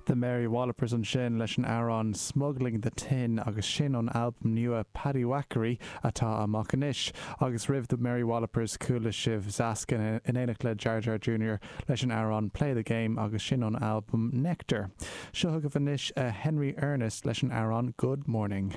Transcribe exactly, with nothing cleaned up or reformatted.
The Mary Wallopers ansin leis an amhrán Smuggling the Tin agus sin ón albam nua Paddywhackery atá amach anois agus roimh The Mary Wallopers chuala sibh Zaskin in éineacht le Jar Jar Jr. leis an amhrán Play the Game agus sin ón albam Nectar. Seo chugaibh anois uh, Henry Ernest leis an amhrán Good Morning.